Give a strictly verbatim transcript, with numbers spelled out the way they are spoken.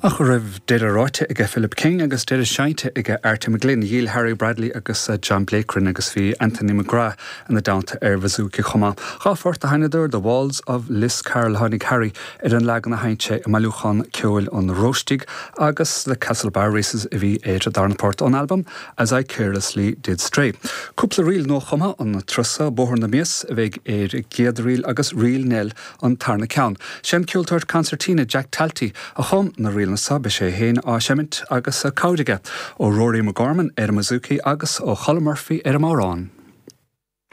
Ach raibh deireadh ráite ag Philip King agus deireadh seinnte ag Arty McGlynn, dhíol Harry Bradley agus John Blake agus bhí Anthony McGrath ina dteannta ar bouzouki chomh maith. Dhá phort a sheinneadar The Walls of Liscarroll tháinig Harry ar an leagan a sheinn sé i mbailiúchán ceoil an Róistigh agus le Castlebar Races a bhí ar darna port ón album As I Carelessly Did Stray. Cúpla ríl nuachumtha an turas seo Bóthar na Mias a bheidh ar an gcéad ríl agus Ríl Nell an tarna ceann. Sé an ceoltóir concertina Jack Talty a chum na ríleanna seo beidh sé féin á seimint agus cabhair aige ó Rory McGorman ar an mbouzouki agus ó Cholm Murphy ar an mbodhrán.